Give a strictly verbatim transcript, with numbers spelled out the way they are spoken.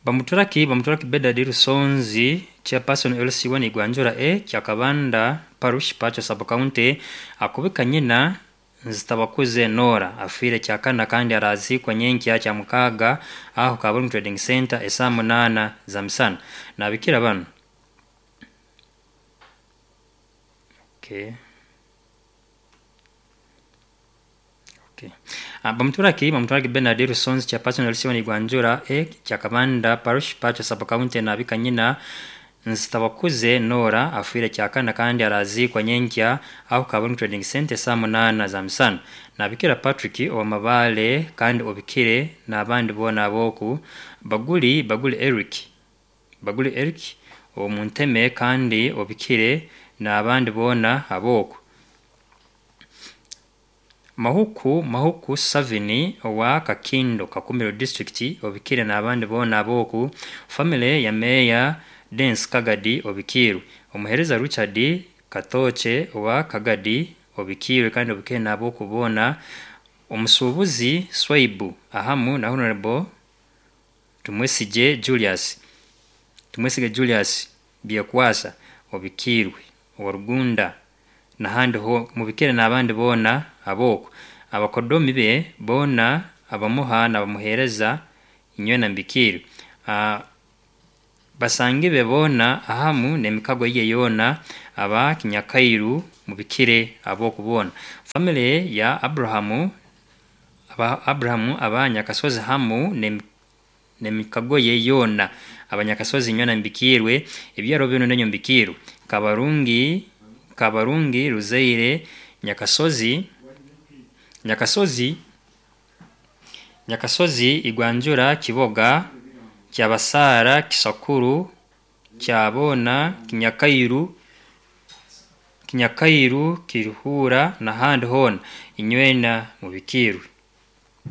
Bamuturaki Bamuturaki Bedard Rusonzi, chairperson L C one Igwanjura A, Kyakabanda Parish, Pacho Sub County, akubika nyina Nzitabakuze Nora afiire kyakana kandi araziikwa nyenkya Kyamukaaga aho Kaburungu Trading Center esaa munaana za misana. Nabikira banu. Okay. Okay. Uh, Bamuturaki Bamuturaki Bernard Rusonzi, chairperson L C one Igwanjura A, Kyakabanda Parish, Pacho Sub County, nabika nyina Nzitabakuze Nora afiire kyakana kandi araziikwa nyenkya aho Kaburungu Trading Center saa munaana za misana. Nabikira Patrick owamabale kandi obikire n'abandi boona ab'oku Baguli Baguli Eric Baguli Eric omunteme kandi obikire n'abandi boona ab'oku Mahuku Mahuku Savini owa Kakindo, Kakumiro District, obikire n'abandi boona ab'oku family ya Meya Dens Kagadi obikiirwe. Omuheereza Richard Katoche owa Kagadi obikiirwe kandi obikire n'ab'oku boona. Omusuubuzi Swaibu ahamu na Honorable Tumwesigye Julius Tumwesige Julius Byekwasa obikiirwe owarugunda n'ahandi ho mubikire n'abandi boona ab'oku abakodomi be boona abamuha n'abamuheereza inywena mbikiirwe. Uh, basangi be boona ahamu n'emikago ye yoona aba Kinyakairu mubikire ab'oku boona. Family ya Abrahamu aba Abrahamu aba Nyakasozi hamu n'emikago ye yoona abanyakasozi inywena mbikiirwe. Ebyaro binu nenyo mbikiirwe. Kabarungi Kabarungi Ruzaire Nyakasozi Nyakasozi Nyakasozi Igwanjura Kiboga Kyabasaara Kisakuru Kyabona Kinyakairu Kinyakairu Kiruhura n'ahandi hoona inywena mubikiirwe.